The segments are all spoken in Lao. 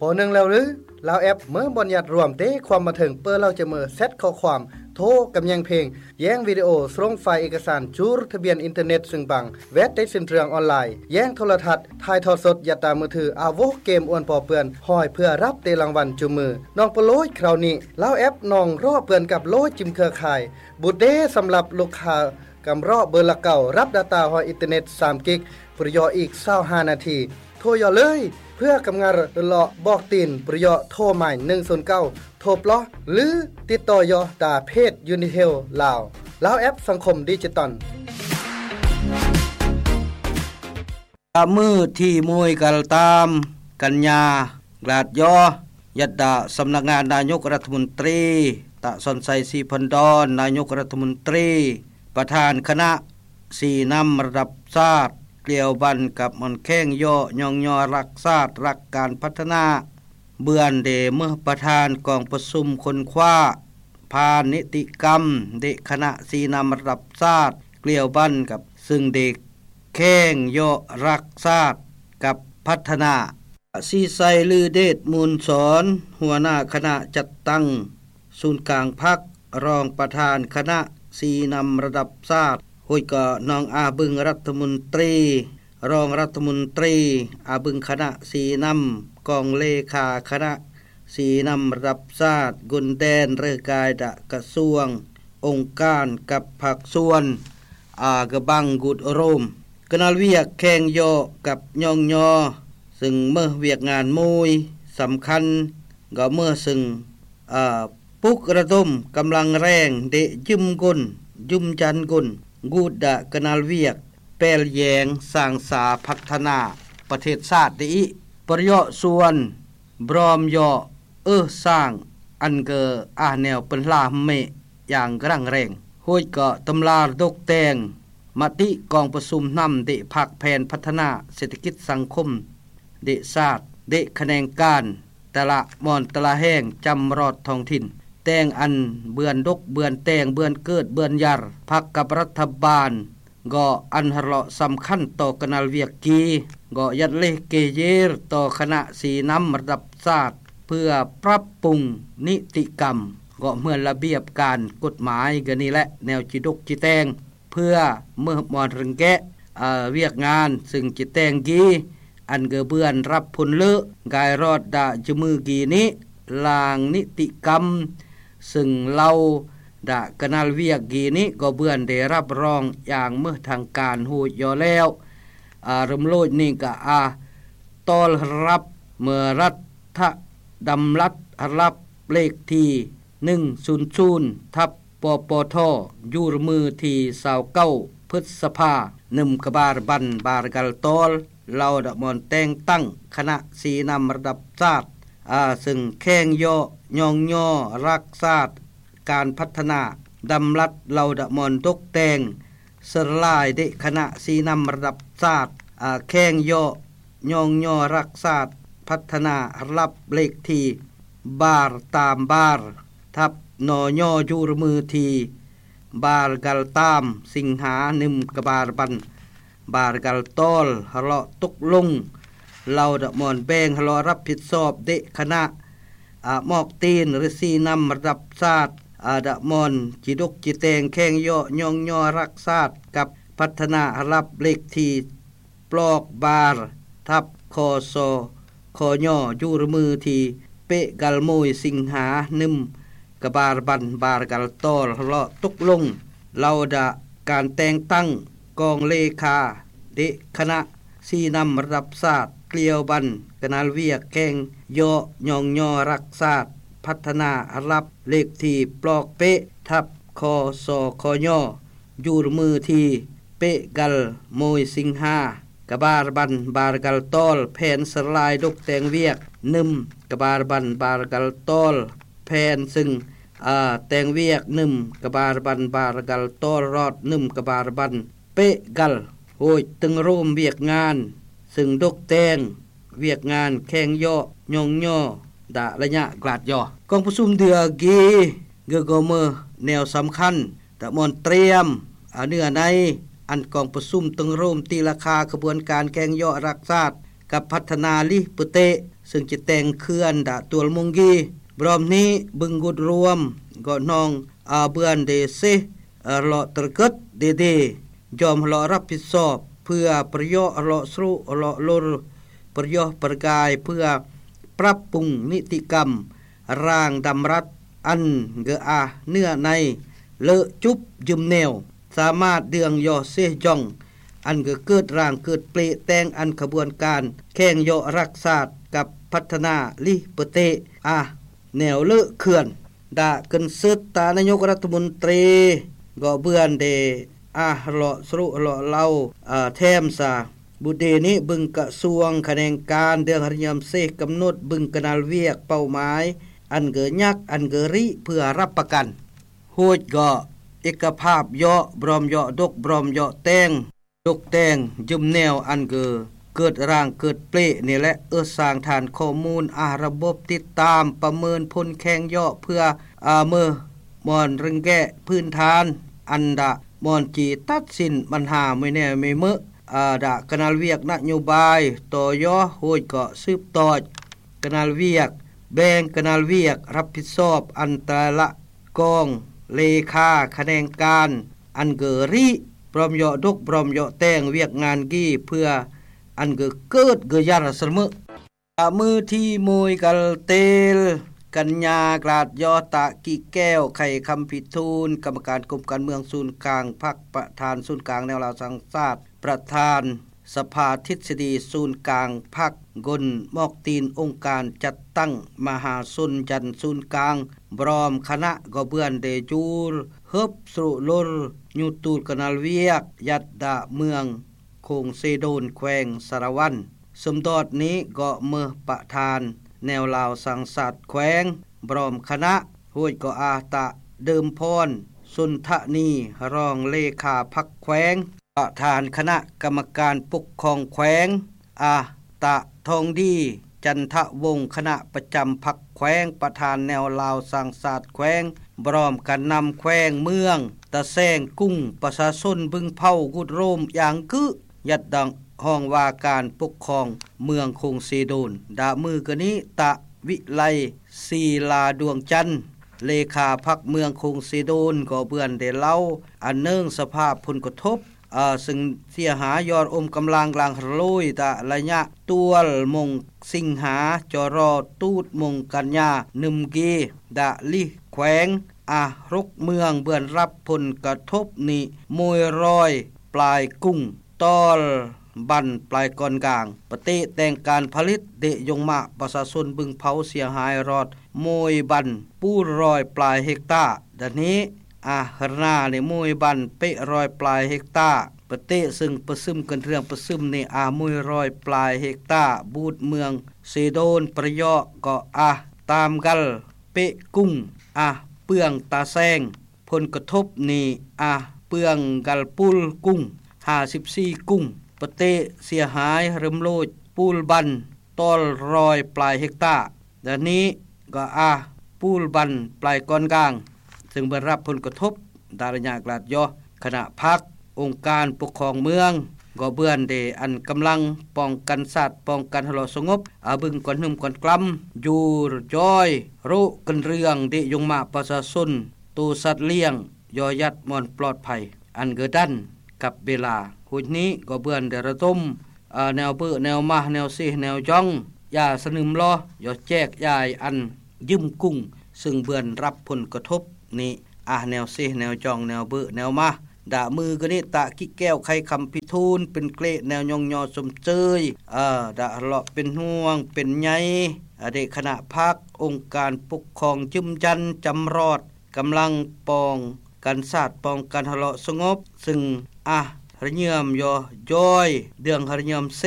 ພໍໜຶ່ງແລ້ວຫຼື? ລາວແອັບເມີບ່ອນຍັດລວມເດ້ຄວາມມາເຖິງ ເປີເລົ່າຈະເມີແຊັດຂໍ້ຄວາມ ໂທກຳແຍງເພງ ແຍ່ງວິດີໂອ ສະຫຼົງໄຟລ໌ເອກະສານ ຈູດທະບຽນອິນເຕີເນັດ ຊຶ່ງບັງ ແວັດໄດ້ເສັ້ນເລື່ອງອອນລາຍ ແຍ່ງໂທລະທັດ ຖ່າຍທອດສົດ ຍັດຕາມືຖື ອາໂວະເກມອວນປໍເປື້ອນ ຫ້ອຍເພື່ອຮັບເຕະລາງວັນຈຸມມື ນ້ອງໂປໂລຍຄາວນີ້ ລາວແອັບນ້ອງເລາະເປື້ອນກັບໂລຍຈິມເຄືອຂ່າຍ ບຸດເດສຳລັບລູກຄ້າ ກຳເລາະເບີລະເກົ້າ ຮັບດາຕ້າຫ້ອຍອິນເຕີເນັດສາມກິກ ປະໂຫຍດອີກຊາວຫ້ານາທີ ໂທຢໍ່ເລີຍ ເພື່ອກຳງານເລາະບອກຕີນ ປະໂຫຍດໂທໝາຍໜຶ່ງສູນເກົ້າ ໂທປລອກ ຫຼື ຕິດຕໍ່ຢໍ່ຕາເພຈຢູນິເທວລາວ ລາວແອັບສັງຄົມດິຈິຕອນ. ກະມື້ທີມວຍກັນຕາມ ກັນຍາ ກາດຢໍ່ ຍັດດາສຳນັກງານນາຍົກລັດຖະມົນຕີ ຕະສອນໄຊ ສີພັນດອນ ນາຍົກລັດຖະມົນຕີ ປະທານຄະນະຊີ້ນຳລະດັບຊາດ ກ່ຽວພັນກັບມອນແຂ່ງເຍາະຍ້ອງຍໍຮັກຊາດ ຮັກການພັດທະນາ ເບືອນເດເມີປະທານກອງປະຊຸມຄົ້ນຄວ້າຜ່ານນິຕິກຳ ເດຄະນະຊີ້ນຳລະດັບຊາດ ກ່ຽວພັນກັບ ຊຶ່ງເດແຂ່ງເຍາະຮັກຊາດກັບພັດທະນາ. ສີໄຊ ລືເດດມູນສອນ ຫົວໜ້າຄະນະຈັດຕັ້ງສູນກາງພັກ ຮອງປະທານຄະນະຊີ້ນຳລະດັບຊາດ ໂຮດກໍນ້ອງອາບຶງລັດຖະມົນຕີ ຮອງລັດຖະມົນຕີ ອາບຶງຄະນະຊີ້ນຳ ກອງເລຂາຄະນະຊີ້ນຳລະດັບຊາດ ກຸນແດນເຣກາຍດະກະຊວງ ອົງການກັບພາກສ່ວນ ອາກະບັງກຸດໂຣມ ກະນາລວຽກແຂ່ງເຍາະກັບຍ້ອງຍໍ ຊຶ່ງເມີວຽກງານມວຍສຳຄັນ ກໍເມີຊຶ່ງ ອາ ປຸກລະດົມກຳລັງແຮງເດຢືມກົນ ຢືມຈັນກົນ ກູດດະກະນາລວຽກ ແປລແຍງສ້າງສາພັດທະນາປະເທດຊາດໄດ້ອີກ ປະໂຫຍດສ່ວນ ບຣອມເຍາະ ເອີສາງ ອັນເກີອາແນວເປິນລາເມ ຢ່າງກະລັງແຮງ ໂຮດກໍຕຳລາດົກແຕ່ງ ມະຕິກອງປະຊຸມນຳເດພາກແຜນພັດທະນາເສດຖະກິດສັງຄົມ ເດຊາດ ເດຂະແໜງການ ແຕ່ລະບ່ອນແຕ່ລະແຫ່ງຈຳລອດທ້ອງຖິ່ນ ແຕ່ງອັນເບືອນດົກເບືອນແຕ່ງເບືອນເກີດເບືອນຢາກ ພັກກັບລັດຖະບານ ກໍອັນຮະເລາະສຳຄັນຕໍ່ກະນາລວຽກກີ ກໍຍັດເລກເກເຢຣຕໍ່ຄະນະຊີ້ນຳລະດັບຊາດ ເພື່ອປັບປຸງນິຕິກຳ ກໍເໝືອນລະບຽບການກົດໝາຍ ກໍນີ້ແຫຼະແນວຈິດົກຈິແຕ່ງ ເພື່ອເມີມອນເຣັງແກະ ອາ ວຽກງານ ຊຶ່ງຈິແຕ່ງກີ ອັນກະເບືອນຮັບຜົນເລີກາຍລອດດະຈະມືກີນີ້ ລາງນິຕິກຳ ຊຶ່ງເລົ່າດະກະນາລວຽກກີນີ້ ກໍເບືອນໄດ້ຮັບຮອງຢ່າງເມີທາງການໂຮດຢໍ່ແລ້ວ ອາ ເລີ່ມໂລດນີ້ກະອາ ຕອນຮັບເມີລັດຖະດຳລັດຮັບເລກທີ ໜຶ່ງສູນສູນ ທັບ ປປທ ຢູ່ມື້ທີຊາວເກົ້າ ພຶດສະພາ ໜຶ່ງກະບາລບັນ ບາລກັນຕອນ ເລົ່າດະມອນແຕ່ງຕັ້ງຄະນະຊີ້ນຳລະດັບຊາດ ອາ ຊຶ່ງແຂ່ງເຍາະຍ້ອງຍໍຮັກຊາດ ການພັດທະນາ ດຳລັດເລົ່າດະມອນຕົກແຕ່ງ ເສີລາຍເດຄະນະຊີ້ນຳລະດັບຊາດ ອາ ແຂ່ງເຍາະຍ້ອງຍໍຮັກຊາດ ພັດທະນາຮັບເລກທີ ບາລຕາມບາລ ທັບ ນຍ ຢູ່ມື້ທີ ບາລກັນຕາມ ສິງຫາ ໜຶ່ງກະບາລບັນ ບາລກັນຕອນ ຮະເລາະຕົກລົງ ເລົ່າດະມອນແບ່ງຮະເລາະຮັບຜິດຊອບເດຄະນະ ອາ ໝອກຕີນ ຫຼື ຊີ້ນຳລະດັບຊາດ ອາ ດະມອນຈິດົກຈິແຕ່ງແຂ່ງເຍາະຍ້ອງຍໍຮັກຊາດ ກັບພັດທະນາຮັບເລກທີ ປລອກບາລ ທັບ ຄສ ຄຍ ຢູ່ມື້ທີ ເປກັນໂມຍ ສິງຫາ ໜຶ່ງກະບາລບັນ ບາລກັນຕອນ ເລາະຕົກລົງ ເລົ່າດະການແຕ່ງຕັ້ງກອງເລຂາເດຄະນະຊີ້ນຳລະດັບຊາດ ກ່ຽວພັນກະນາລວຽກແຂ່ງເຍາະຍ້ອງຍໍຮັກຊາດ ພັດທະນາລະດັບເລກທີ ປລອກເປ ທັບ ຄສ ຄຍ ຢູ່ມື້ທີ ເປກັນໂມຍ ສິງຫາ ກະບາລບັນ ບາລກັນຕອນ ແຜນສະລາຍດົກແຕ່ງວຽກ ໜຶ່ງກະບາລບັນ ບາລກັນຕອນ ແຜນຊຶ່ງ ອາ ແຕ່ງວຽກ ໜຶ່ງກະບາລບັນ ບາລກັນຕອນ ລອດ ໜຶ່ງກະບາລບັນ ເປກັນ ໂຮດຕຶງໂຮມວຽກງານ ຊຶ່ງດົກແຕ່ງ ວຽກງານແຂ່ງເຍາະຍ້ອງຍໍ ດະໄລຍະກາດຢໍ່ ກອງປະຊຸມເດືອກີ ເກີກອເມີແນວສຳຄັນ ຕະມອນຕຽມ ອາ ເນື້ອໃນ ອັນກອງປະຊຸມຕຶງໂຮມຕີລາຄາຂະບວນການແຂ່ງເຍາະຮັກຊາດ ກັບພັດທະນາລິປະເຕະ ຊຶ່ງຈະແຕ່ງເຂື່ອນດາຕົວລະມົງກີ. ບຣອມນີ້ບຶງກຸດລວມ ກໍໜອງອາເບືອນເດເຊ ອາເລາະຕຣະເກີດເດເດ ຍອມເລາະຮັບຜິດຊອບ ເພື່ອປະໂຫຍດເລາະສະຫຼຸເລາະລົນ ປະໂຫຍດປະກາຍ ເພື່ອປັບປຸງນິຕິກຳ ຮ່າງດຳລັດ ອັນເກີອາເນື້ອໃນ ເລີະຈຸບຢືມແນວ ສາມາດເດືອງຍໍເຊຢອງ ອັນເກີເກີດຮ່າງເກີດເປລະແຕ່ງອັນຂະບວນການແຂ່ງເຍາະລັກຊາດກັບພັດທະນາລິເປີເຕ ອາ ແນວເລີະເຂື່ອນ ດາກຶນເສີດຕານາຍົກລັດຖະມົນຕີ ກໍເບືອນເດ ອາ ເລາະສະຫຼຸເລາະເລົ່າ ອາ ແຖມສາ ບຸດເດນີ້ບຶງກະຊວງຂະແໜງການເດືອງຮະຍອມເຊກຳນົດບຶງກະນາລວຽກເປົ້າໝາຍ ອັນເກີຍັກ ອັນເກີຣິ ເພື່ອຮັບປະກັນ ໂຫດເກາະເອກະພາບເຍາະ ບຣອມເຍາະດົກ ບຣອມເຍາະແຕ່ງ ດົກແຕ່ງຢືມແນວ ອັນເກີເກີດຮ່າງເກີດເປລະນີ້ແຫຼະ ເອີສາງຖານຂໍ້ມູນ ອາ ລະບົບຕິດຕາມປະເມີນຜົນແຂ່ງເຍາະ ເພື່ອ ອາ ເມີ ບ່ອນເລັ່ງແກ້ພື້ນຖານ ອັນດາບ່ອນຈີຕັດສິນບັນຫາມວຍແນວມວຍເມີ ອາ ດາກະນາລວຽກນະໂຍບາຍ ຕໍ່ຢໍ ໂຫດເກາະສືບຕໍ່ ກະນາລວຽກ ແບ່ງກະນາລວຽກ ຮັບຜິດຊອບອັນແຕ່ລະກອງ ເລຂາຂະແໜງການ ອັນເກີຣີ ບຣອມເຍາະດົກ ບຣອມເຍາະແຕ່ງວຽກງານກີ ເພື່ອອັນເກີເກີດເກີຍານສະເໝີ ອາ ມື້ທີມວຍກັນເຕລ ກັນຍາ ກລາດຢໍ ຕະກິແກ້ວ ໄຂຄຳພິທູນ ກຳມະການກົມການເມືອງສູນກາງພັກ ປະທານສູນກາງແນວລາວສ້າງຊາດ ປະທານສະພາທິດສະດີສູນກາງພັກ ກົນໝອກຕີນອົງການຈັດຕັ້ງມະຫາຊົນ ຢັນສູນກາງ ບຣອມຄະນະ ກໍເບືອນເດຈູລ ເຮີບສະລຸລົນ ຍູຕູລກະນາລວຽກ ຍັດດາເມືອງ ໂຂງເຊໂດນ ແຂວງສາລະວັນ ສົມດອດນີ້ກໍເມີປະທານແນວລາວສ້າງຊາດແຂວງ ບຣອມຄະນະ ໂຫດກໍອາຕະເດີມພອນ ສົນທະນີ ຮອງເລຂາພັກແຂວງ ປະທານຄະນະກຳມະການປົກຄອງແຂວງ ອາຕະ ທອງດີ ຈັນທະວົງ ຄະນະປະຈຳພັກແຂວງ ປະທານແນວລາວສ້າງຊາດແຂວງ ບຣອມການນຳແຂວງເມືອງ ຕາແສງກຸງ ປະຊາຊົນບຶງເພົາ ກຸດໂຣມ ຢາງກຶ ຍັດດັງ ຫ້ອງວ່າການປົກຄອງເມືອງໂຂງເຊໂດນ ດາມືກະນິ ຕະ ວິໄລ ສີລາດວງຈັນ ເລຂາພັກເມືອງໂຂງເຊໂດນ ກໍເບືອນໄດ້ເລົ່າ ອັນເນື່ອງສະພາບຜົນກະທົບ ອາ ຊຶ່ງເສຍຫາຍຍອດອົມກຳລັງລາງຮະໂລຍ ຕະໄລຍະຕວນມົງສິງຫາ ຈະລໍຕູດມົງກັນຍາ ໜຶ່ງເກ ດາລິແຂວງ ອາ ຫົກເມືອງ ເບືອນຮັບຜົນກະທົບນີ້ ໂມຍຣອຍ ປາຍກຸງ ຕອນບັນ ປາຍກ່ອນກາງ ປະເຕະແຕ່ງການຜະລິດ ເດະຍົງມະ ປະຊາຊົນບຶງເພົາເສຍຫາຍຮອດ ໂມຍບັນ ປູນຮ້ອຍປາຍເຮັກຕາ ດານເຮ ອາ ຮະນາ ໂມຍບັນ ເປະຮ້ອຍປາຍເຮັກຕາ ປະເຕະ ຊຶ່ງປະຊຶມກັນເທື່ອງປະຊຶມນີ້ ອາ ໂມຍຮ້ອຍປາຍເຮັກຕາ ບູດເມືອງເຊໂດນ ປະເຍາະ ກໍ ອາ ຕາມກັນ ເປະກຸງ ອາ ເປືອງຕາແສງ ຜົນກະທົບນີ້ ອາ ເປືອງກັນປູນກຸງ ຫ້າສິບສີ່ກຸງ ປະເຕະເສຍຫາຍ ເລີ່ມໂລດ ປູນບັນ ຕອນຮ້ອຍປາຍເຮັກຕາ ດານເຮ ກໍ ອາ ປູນບັນ ປາຍກ່ອນກາງ ຊຶ່ງເບືອນຮັບຜົນກະທົບ ດາລະຍະກລາດຢໍ ຄະນະພັກ ອົງການປົກຄອງເມືອງ ກໍເບືອນເດ ອັນກຳລັງປ້ອງກັນຊາດ ປ້ອງກັນຮະເລາະສະຫງົບ ອາ ບຶງກ່ອນຫຶມກ່ອນກລຳ ຢູ່ຢອຍ ໂຣກັນເລື່ອງ ເດະຍົງມະປະຊາຊົນ ໂຕສັດລ້ຽງ ຢໍຍັດບ່ອນປອດໄພ ອັນເກີດດັນກັບເວລາ ໂຫດນີ້ກໍເບືອນໄດ້ລະດົມ ອາ ແນວເບີແນວມາ ແນວເຊແນວຢອງ ຢາສະໜຶມລໍ ຢໍແຈກຢາຍອັນຢືມກຸງ ຊຶ່ງເບືອນຮັບຜົນກະທົບນີ້ ອາ ແນວເຊແນວຢອງ ແນວເບີແນວມາ ດາມືກະນິ ຕະກິແກ້ວ ໄຂຄຳພິທູນ ເປັນເກລະແນວຍ້ອງຍໍຊົມເຊີຍ ອາ ດາເລາະເປັນຫ່ວງເປັນໃຍ ອາ ເດ ຄະນະພັກ ອົງການປົກຄອງຢືນຢັນ ຈຳລອດ ກຳລັງປ້ອງກັນຊາດ ປ້ອງກັນຮະເລາະສະຫງົບ ຊຶ່ງ ອາ ຮະເຍີມຢໍຢອຍ ເດືອງຮະເຍີມເຊ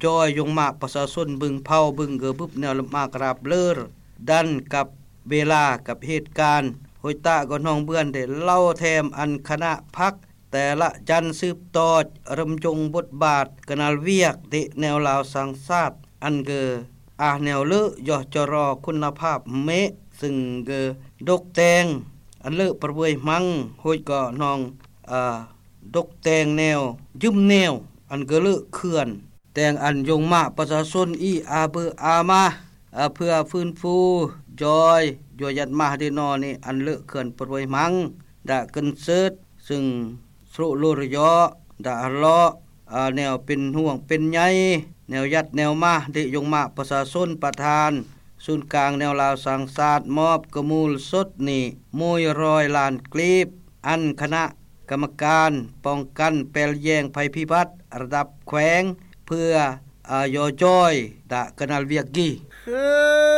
ຢອຍຍົງມະປະຊາຊົນບຶງເພົາ ບຶງເກີບຶບ ແນວລຳອາກຣາບເລີ ດັນກັບເວລາກັບເຫດການ ໂຫຍຕະກໍນ້ອງເບືອນໄດ້ເລົ່າແຖມອັນຄະນະພັກ ແຕ່ລະຈັນສືບຕໍ່ ເລີ່ມຍົງບົດບາດກະນາລວຽກ ເດະແນວລາວສ້າງຊາດ ອັນເກີ ອາ ແນວເລີ ຢໍຈະລໍ ຄຸນນະພາບເມ ຊຶ່ງເກີ ດົກແຕ່ງ ອັນເລີປະເວີຍມັງ ໂຫຍກໍນ້ອງ ອາ ດົກແຕ່ງແນວ ຢືມແນວ ອັນເກີເລີເຂື່ອນ ແຕ່ງອັນຍົງມະປະຊາຊົນ ອີ ອາເບີອາມາ ເພື່ອຟື້ນຟູຢອຍ ຢວຍຍັດມາດດີນໍນີ້ ອັນເລອເຂື່ອນປະໂດຍມັງ ດະເກີນເສີດ ຊຶ່ງສຣຸໂລຣະເຍາະ ດະຮະເລາະ ແນວເປັນຫ່ວງເປັນໃຍ ແນວຍັດແນວມາດດີຍົງມາປະຊາຊົນ ປະທານສູນກາງແນວລາວສ້າງຊາດ ມອບກະມູນສົດນີ້ ໂມຍຮ້ອຍລ້ານກີບ ອັນຄະນະກຳມະການປ້ອງກັນແປລແຍງໄພພິບັດ ລະດັບແຂວງ ເພື່ອ ອາ ຢໍຢອຍ ດະກະນັນວຽກກີ